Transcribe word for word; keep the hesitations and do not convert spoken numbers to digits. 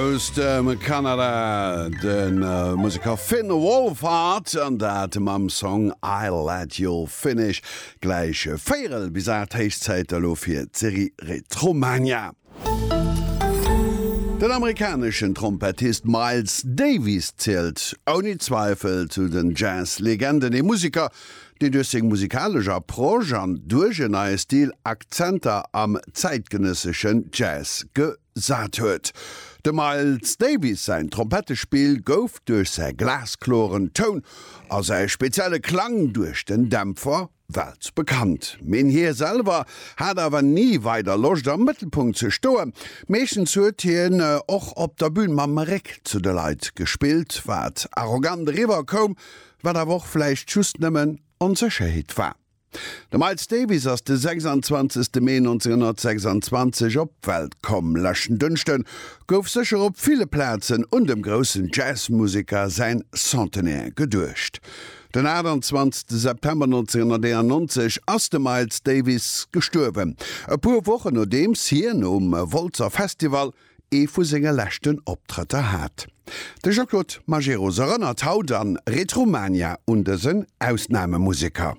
Aus dem Kanada, de Museker Finn Wolfhard an dat mam Song I'll Let You Finish. Gläich véierel bis aacht, héich Zäit elo fir d'Serie Retromania. Den amerikaneschen Trompettist Miles Davis zielt ouni Zweifel zu den Jazz-Legenden, ee Museker, deen duerch seng musikalesch Approche an duerch en neie Stil Akzenter am zäitgenësseschen Jazz gesat huet. Dem Miles Davis säin Trompettespill gouf duerch säi glaskloren Toun a säi spezielle Klang duerch den Dämpfer weltbekannt. Mee hie selwer hat awer ni weider Loscht am Mëttelpunkt ze stoen. Meeschtens huet hien och op der Bün mam Réck zu de Leit gespillt, wat arrogant eriwwer koum, wat awer och vläicht just nëmmen Onsécherheet war. De Miles Davis ass de sechsanzwanzegste Mee nonzénghonnertsechsanzwanzeg op d'Welt komm. Leschten Dënschde gouf sécher op ville Plazen un dem groussen Jazzmuseker säin Centenaire geduecht. Den aachtanzwanzegste September nonzénghonnerteeënannonzeg ass de Miles Davis gestuerwen, e puer Wochen nodeems hien um Wolzer Festival ee vu senge leschten Optrëtter hat. De Jean-Claude Majerus erënnert haut an Retromania un dësen Ausnamemuseker.